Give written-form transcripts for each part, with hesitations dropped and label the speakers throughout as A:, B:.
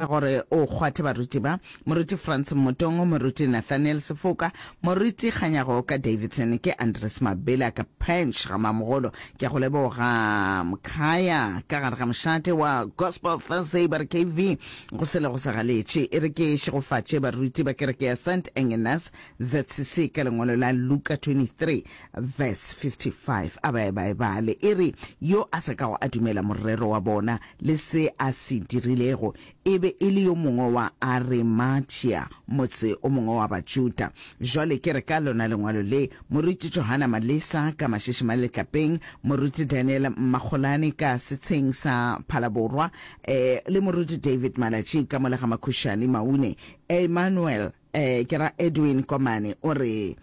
A: Gore o kgwathe baruti ba, Moruti Frans Mmotongo, Moruti Nathaniel Sefoka, Moruti Kganyago ka Davidson, ke Andres Mabela ka Punch ga Mamogolo. Ke a go leboga Mkhaya ka gare ga mošate wa Gospel Thursday ba re KV go sele go sa galetše. E re ke šegofatše baruti ba kereke ya St Agnes ZCC ka lengwalo la Luka 23 verse 55. A ba e ba e bale. E re yo a sa kago a dumela morero wa bona le se a se dirilego, e be e le yo mongwe wa Arimathea, motse o mongwe wa Bajuda. Jwale ke re ka lona lengwalo le, Moruti Johana Malesa ka Mašešimane Letlapeng, Moruti Daniel Mmakgolane ka Setsheng sa Phalaborwa, eh, le Moruti David Malatši ka mola ga Makhušane Maune, Emmanuel Eh, ke ra Edwin Komane o re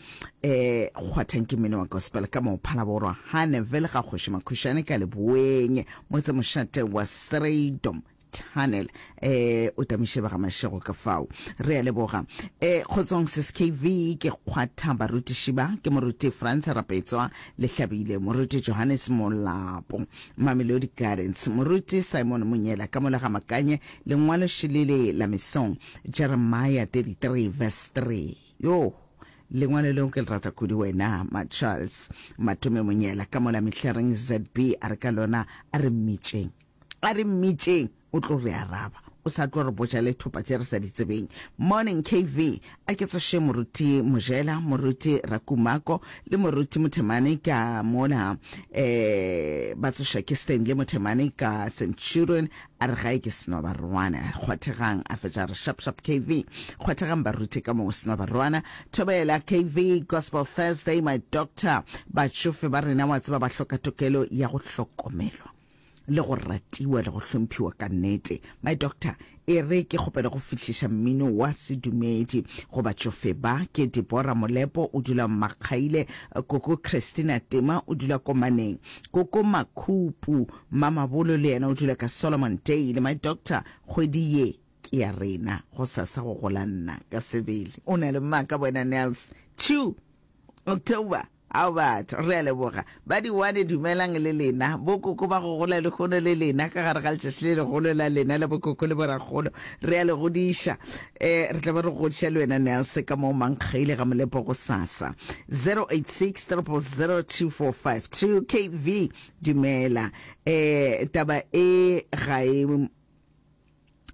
A: eh kgwathang ke mmino wa gospel ka mo Phalaborwa Haneville ga Kgoši Makhušane ka Leboeng motse mošate wa Strydom Tunnel eh o tamiše ba ga Mashego ka fao re a leboga eh kgotsong sis KV ke kgwatha barutiši ba ke moruti Frans Rapetswa Lehlabile moruti Johannes Molapo Mamelodi Gardens moruti Simon Monyela ka mola ga Makanye Lengwalo šelele la mesong, Jeremiah 33 verse 3. Yo, lengwalo leo ke le rata kudu wena, ma Charles Matome Monyela ka mola Mehlareng ZB a re ka lona a re mmitšeng. A re mmitšeng, o tlo re araba. O sa tlo re botša le thopa tše re sa di tsebeng. Morning KV, a ke tsoše moruti Mojela, moruti Rakumako le moruti Mothemane ka mola eh ba tsoša ke Stanley Mothemane ka Centurion A re gae ke Senobarwana. Kgwathegang, a fetša a re shap shap KV. Kgwathegang baruti ka moo Senobarwana. Thobela KV, Gospel Thursday, my doctor. Batšofe ba rena wa tseba ba hloka tokelo ya go hlokomelwa le go ratiwa le go hlomphiwa ka nnete. My doctor, e re ke kgopele go fihliša mmino wa sedumedi go batšofe ba. Ke Deborah Molepo o dula Mmakgaile, Koko Christina Tema o dula Komaneng, Koko Makhupu Mamabolo le yena o dula ka Solomon Dale. My doctor, kgwedi ye ke ya rena, gosasa go gola nna ka sebele. O na le maaka wena Nels. 2 October. Ao batho, re a leboga. Ba di-one dumelang le lena. Bokoko ba go gola lehono le lena ka gare ga letšatši le legolo la lena la bokoko le borakgolo. Re a le godiša. Eh, re tla ba re godiša le wena Nels ka moo Mankgaile ga Molepo gosasa. 086 000 2452 KV. Dumela. Eh, taba e ga e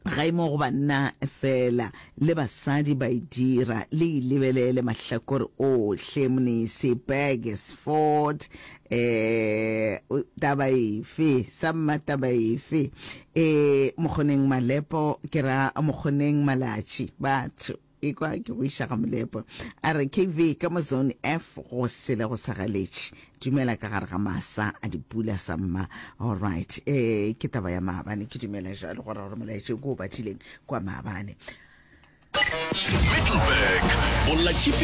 A: ga e mo go banna fela, le basadi ba e dira. Le e lebelele mahlakore ohle, Mnisi, Burgersfort, eh, taba efe, samma taba efe, eh, Mokgoneng Malepo, ke ra Mokgoneng Malatši, batho. Ekwa ke go iša ga Molepo. A re KV ka mo zone F go sele go sa galetše. Dumela ka gare ga masa a dipula sa mma. All right. Eh ke taba ya maabane ke dumela jalo gore gore molaetša o ke o badileng kwa maabane.
B: Middelburg, Bolla tšhipi.